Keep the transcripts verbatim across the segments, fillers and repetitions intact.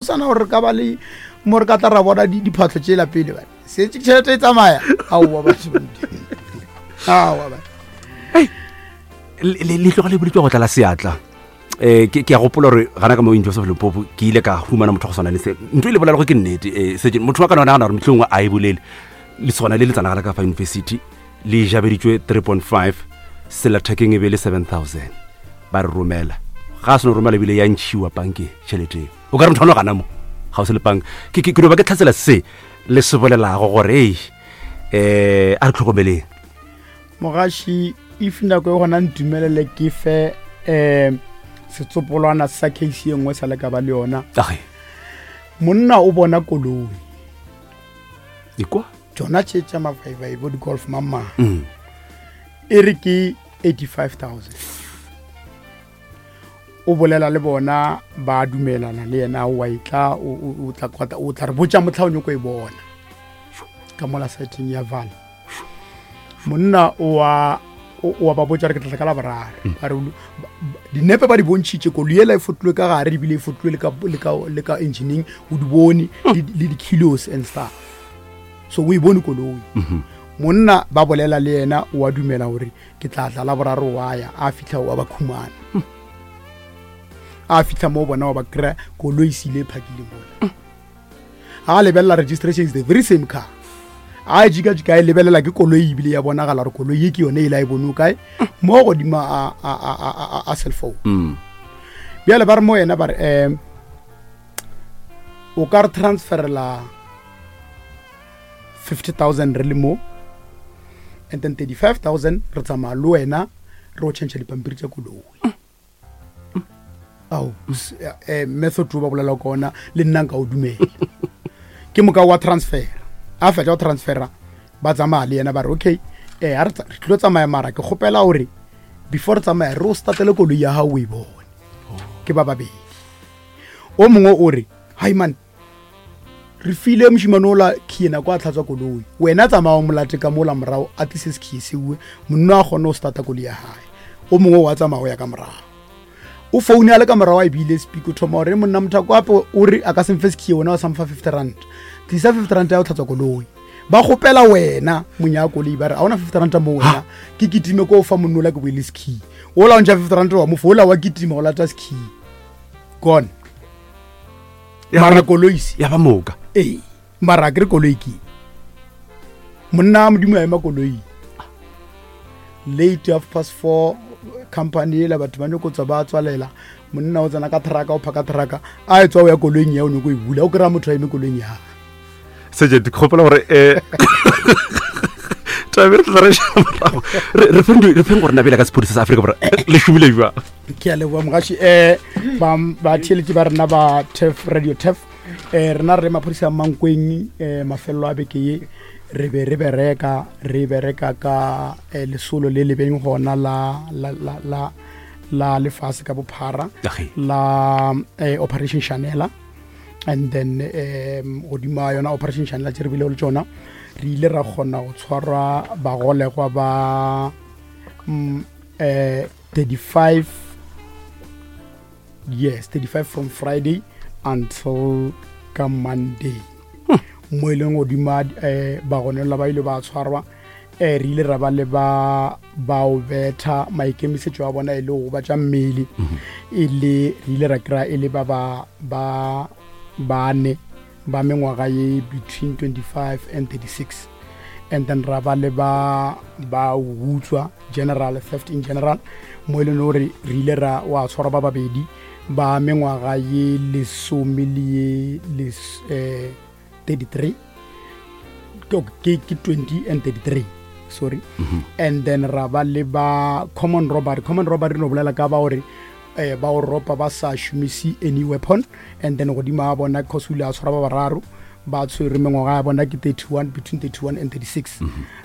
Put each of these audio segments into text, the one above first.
sana gore re ka ba le mo re ka tla ra bona di- diphatlho tšela pele bane setse tšhelete e tsamaya. Aowa batho, aowa batho. Le le tloga le boletswa go tlala seatla. um ke ke a gopola gore gana ka mo University of Limpopo ke ile ka humana motho wa go tshwana le se ntho e le bolela go ke nnete. um setse motho wa ka nagana gore motlhongwe a e bolele lesogana le le tsanagala ka fa university le jabeditswe three point five, sellathekeng e be le seven thousand. Ba re romela, ga a seno romela ebile ya ntšhiwa bankeng tšhelete eo. O ka re motho wa no gana mo ga o se le banka. Ke ke- ke no ba ke tlhatsela se le se bolelago gore ei, um a re tlhokomeleng. Mogaši, if nako e gona, ntumelele ke fe um setsopolwana sa case ye nngwe sa le ka ba le yona. Age. Monna o bona koloi. Ikwa. Tsona tše tša mavaibai bo di-Golf mamang. Mm. E re ke eighty-five thousand. O bolela le bona, ba dumelana le yena, wa etla o o- o tla kwata- o tla re botša motlha o nyako e bona ka mola siteng ya val. Monna o wa o o wa ba botša re ke tlatla ka Laboraro. Ba re o- ba- ba- dinepe ba di bontšhitše, koloi ela e fotlilwe ka gare ebile e fotlilwe le ka- le ka- le ka engineeng, o di bone le le di-kilos and stuff, so o e bone koloi. Monna ba bolela le yena, o a dumela gore ke tla tla Laboraro. Wa ya, a fitlha wa ba khumana, a fitlha mo bona wa ba kry-a koloi e sile e phakile mola. A lebelela registration, is the very same car. A jika-jika e lebelela, ke koloi ebile ya bonagala gore koloi ye ke yone e le a e bone o kae mo godimo a, a, a, a, a, a cell phone. Mm. Bjale ba re mo yena, ba re um o ka re transferela fifty thousand re le mo, and then thirty-five thousand re tsamaya le wena re o change dipampiri tša koloi. Ao, s- eh, method o ba bolela ka ona le nna nka o dumela. Ke moka wa transfera, a fetša go transfera, ba tsamaya le yena. Ba re okay, eh a re tsa- re tlilo tsamaya, mara ke kgopela gore before re tsamaya re o statele koloi ya gago o e bone. Ke ba babedi, o mongwe o re, hai man, re file mošimane ola key nako a tlhatswa koloi, wena tsamaya o molate ka mola morago a tlise sekey seue. Monna a kgone go starta koloi ya gae. O mongwe wa tsamaya o ya ka morago, o foune a le ka morago, a ebile speaker, o thoma gore monna mothako ape o re a ka se mfe sekey, wena wa sa mfa fifty rand, tlisa fifty rand ya go tlhatswa koloi. Ba kgopela wena monya koloi, ba re a ona fifty rand mo wena, ke kitime ko o fa monnola ke boele sekey ola o ntšha fifty rand wa mofa ola wa kitima go lata sekey gone. Ya mara ba- koloi se ya ba moka. Ee, mara a kere koloi ke monna wa Modimo a ema koloi late, half past four, company ela batho ba nyako tswa ba tswalela. Monna o tsena ka trucka, o phaka trucka, a e tswa o ya koloing ya o nyako e bula, o kry-a motho a eme koloing ya. Sergeant, ke gopola gore um tabe re tla re šala morago. Re- re feng di- re feng gore nabele ka sepodisa sa Aforika Borwa le šomile jwang. Ke a leboa mogaši. um batheeletši ba rena ba Turf Radio Turf, um rena re maphodisa a Mankweng. um mafelelo a beke ye re be re bereka re bereka ka eh, lesolo le le beng gona la la la la la lefase ka bophara Age. la eh, Operation Shanela. And then um godimo yona Operation Shanela tše re bile le tšona, re ile ra kgona go tshwarwa bagolegwa ba mm, eh, thirty-five, yes, thirty-five from Friday until ka Monday, mo e leng godimo um bagonelwa ba ile ba tshwarwa. um re ile ra ba le ba bao betha, maikemisetšo a bona e le go ba tša mmele, e le re ile ra kry-a e le ba ba ba bane ba mengwaga ye between twenty-five and thirty-six, and then ra ba le ba ba utswa, general theft in general, mo e leng gore re ile ra wa tshwarwa ba babedi ba mengwaga ye lesome le ye les, eh, thirty-three, ke ke ke twenty and thirty-three, sorry. And then ra ba le ba common robbery. Common robbery no bolela ka ba gore eh ba o ropa ba sa šomise any weapon. And then godimo ga bona, cause o ile a tshwara ba bararo ba tshwere, mengwaga ya bona ke thirty-one, between thirty-one and thirty-six.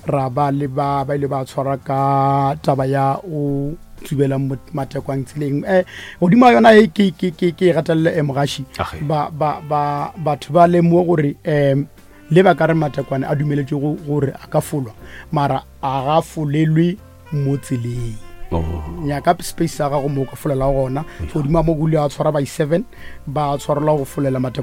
Ra ba le ba ba ile ba tshwara ka taba ya o tsubela matekwang tseleng. um godimo ga yona e ke ke ke ke e gatelele, e mogaši. Age. ba ba ba batho ba lemoge gore um le ba ka re matekwane a dumeletse go- gore a ka folwa, mara a ga folelwe mo tseleng. Oh. Nyaka space sa gago mo o ka folela gona. Godimo ga mo kule a tshwara by seven, ba tshwarelwa go folela matekwane.